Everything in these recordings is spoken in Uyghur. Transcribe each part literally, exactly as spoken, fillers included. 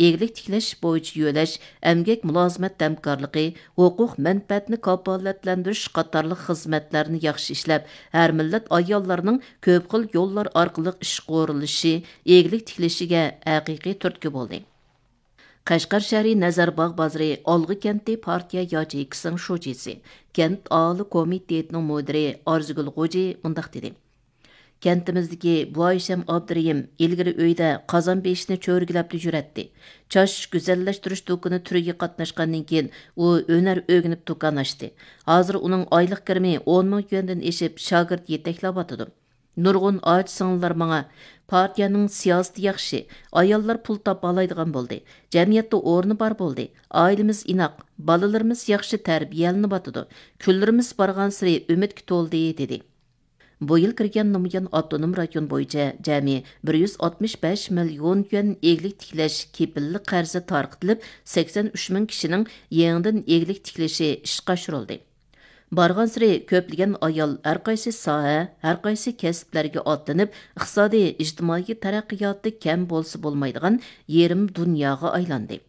ئىگىلىك تىكلەش بويىچە يۆلەش، ئەمگەك مۇلازىمەت ھەمكارلىقى، ھوقۇق مەنپەئەتنى كاپالەتلەندۈرۈش قاتارلىق خىزمەتلەرنى ياخشى ئىشلەپ، ھەر مىللەت ئاياللارنىڭ كۆپ خىل يوللار ئارقىلىق ئىشقا ئورۇنلىشىشى، ئىگىلىك تىكلىشىگە ھەقىقىي تۈرتكە بولدى. قەشقەر شەھىرى نەزەرباغ بازىرى ئالغا كەنتى پارتىيە ياچېيكىسىنىڭ شۇجىسى، كەنت ئاھالە كومىتېتىنىڭ مۇدىرى ئارزۇگۈل غوجى مۇنداق دېدى: كەنتىمىزدىكى بۇ ئايشەم ئابدۇرېھىم ئىلگىرى ئۆيدە قازان بېشىنى چۆرگىلەپلا يۈرەتتى. چاچ گۈزەللەشتۈرۈش دۇكىنى تۈرىگە قاتناشقاندىن كېيىن، ئۇ ھۈنەر ئۆگىنىپ دۇكان ئاچتى. ھازىر ئۇنىڭ ئايلىق كىرىمى ئون مىڭ يۈەندىن ئېشىپ، شاگىرت يېتەكلەۋاتىدۇ. نۇرغۇن ئاچا سىڭىللار ماڭا: «پارتىيەنىڭ سىياسىتى ياخشى، ئاياللار پۇل تاپالايدىغان بولدى، جەمئىيەتتە ئورنى بار بولدى، ئائىلىمىز ئىناق، بالىلىرىمىز ياخشى تەربىيەلىنىۋاتىدۇ، كۈنلىرىمىز بارغانسېرى ئۈمىدكە تولدى» دېدى. بۇ يىل كىرگەن نومۇيان ئاپتونوم رايون بويىچە جەمئىي بىر يۈز ئاتمىش بەش مىليون يۈەن ئىگىلىك تىكلەش كېپىللىك قەرزى تارقىتىلىپ، سەكسەن ئۈچ مىڭ كىشىنىڭ يېڭىدىن ئىگىلىك تىكلىشى ئىشقا ئاشۇرۇلدى. بارغانسېرى كۆپلىگەن ئايال ھەرقايسى ساھە، ھەرقايسى كەسىپلەرگە ئاتلىنىپ، ئىقتىسادىي، ئىجتىمائىي تەرەققىياتى كەم بولسا بولمايدىغان يېرىم دۇنياغا ئايلاندى.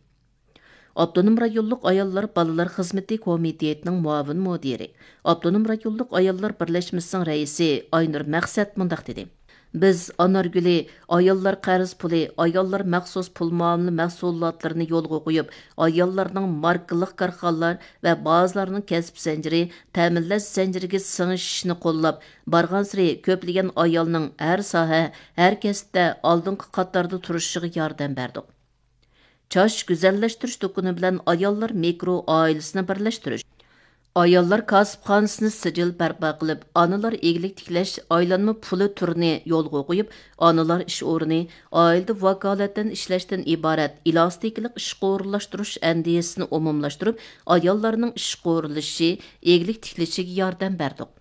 ئاپتونوم رايونلۇق ئاياللار بالىلار خىزمىتى كومىتېتىنىڭ مۇئاۋىن مۇدىرى، ئاپتونوم رايونلۇق ئاياللار بىرلەشمىسىنىڭ رەئىسى ئاينۇر مەقسەت مۇنداق دېدى: «بىز ئانارگۈلى، ئاياللار قەرز پۇلى، ئاياللار مەخسۇس پۇل مۇئامىلە مەھسۇلاتلىرىنى يولغا قويۇپ، ئاياللارنىڭ ماركىلىق كارخانىلار ۋە بازىلارنىڭ كەسىپ زەنجىرى، تەمىنلەش زەنجىرىگە سىڭىشىشىنى قوللاپ، بارغانسېرى كۆپلىگەن ئايالنىڭ ھەر ساھە، ھەر كەسىپتە ئالدىنقى قاتاردا تۇرۇشىغا ياردەم بەردۇق.» چاچ گۈزەللەشتۈرۈش دۇكىنى بىلەن ئاياللار مىكرو ئائىلىسىنى بىرلەشتۈرۈش، ئاياللار كاسىپخانىسىنى سىجىل بەرپا قىلىپ، ئانىلار ئىگىلىك تىكلەش ئايلانما پۇلى تۈرىنى يولغا قويۇپ، ئانىلار ئىش ئورنى، ئائىلىدە ۋاكالىتەن ئىشلەشتىن ئىبارەت ئېلاستىكىلىق ئىشقا ئورۇنلاشتۇرۇش ئەندىزىسىنى ئومۇملاشتۇرۇپ، ئاياللارنىڭ ئىشقا ئورۇنلىشىشى، ئىگىلىك تىكلىشىگە ياردەم بەردۇق.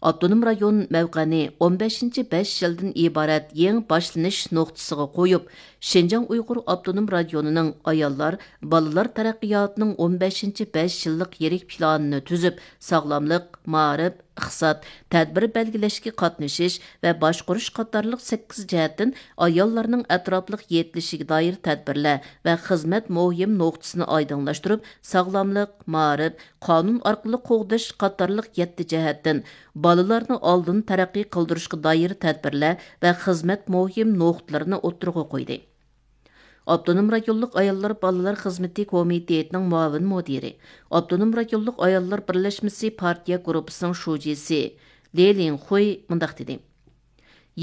ئاپتونوم رايون مەۋقەنى ئون بەشىنچى بەش يىلدىن ئىبارەت يېڭى باشلىنىش نۇقتىسىغا قويۇپ، شىنجاڭ ئۇيغۇر ئاپتونوم رايونىنىڭ ئاياللار، بالىلار تەرەققىياتىنىڭ ئون بەشىنچى بەش يىللىق يىرىك پىلانىنى تۈزۈپ، ساغلاملىق، مائارىپ، ئىقتىساد، تەدبىر بەلگىلەشكە قاتنىشىش ۋە باشقۇرۇش قاتارلىق سەككىز جەھەتتىن ئاياللارنىڭ ئەتراپلىق يېتىلىشىگە دائىر تەدبىرلەر ۋە خىزمەت مۇھىم نۇقتىسىنى ئايدىڭلاشتۇرۇپ، ساغلاملىق، مائارىپ، قانۇن ئارقىلىق قوغداش قاتارلىق يەتتە جەھەتتىن بالىلارنى ئالدىن تەرەققىي قىلدۇرۇشقا دائىر تەدبىرلەر ۋە خىزمەت مۇھىم نۇقتىلىرىنى ئوتتۇرىغا قويدى. ئاپتونوم رايونلۇق ئاياللار بالىلار خىزمىتى كومىتېتىنىڭ مۇئاۋىن مۇدىرى، ئاپتونوم رايونلۇق ئاياللار بىرلەشمىسى پارتىيە گۇرۇپپىسىنىڭ شۇجىسى لې لىڭخۇي مۇنداق دېدى: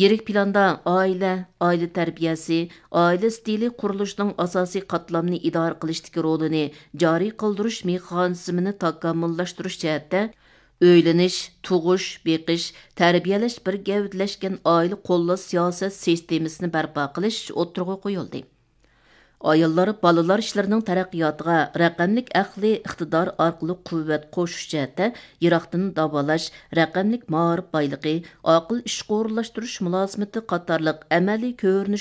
يىرىك پىلاندا ئائىلە، ئائىلە تەربىيەسى، ئائىلە ئىستىلى قۇرۇلۇشىنىڭ ئاساسىي قاتلامنى ئىدارە قىلىشتىكى رولىنى جارى قىلدۇرۇش مېخانىزمىنى تاكامۇللاشتۇرۇش جەھەتتە ئۆيلىنىش، تۇغۇش، بېقىش، تەربىيەلەش بىر گەۋدىلەشكەن ئائىلە قوللاش سىياسەت سىستېمىسىنى بەرپا قىلىش ئوتتۇرىغا قويۇلدى. ئاياللار بالىلار ئىشلىرىنىڭ تەرەققىياتىغا رەقەملىك ئەقلىي ئىقتىدار ئارقىلىق قۇۋۋەت قوشۇش جەھەتتە يىراقتىن داۋالاش، رەقەملىك مائارىپ بايلىقى، ئاقىل ئىشقا ئورۇنلاشتۇرۇش مۇلازىمىتى قاتارلىق ئەمەلىي كۆرۈنۈش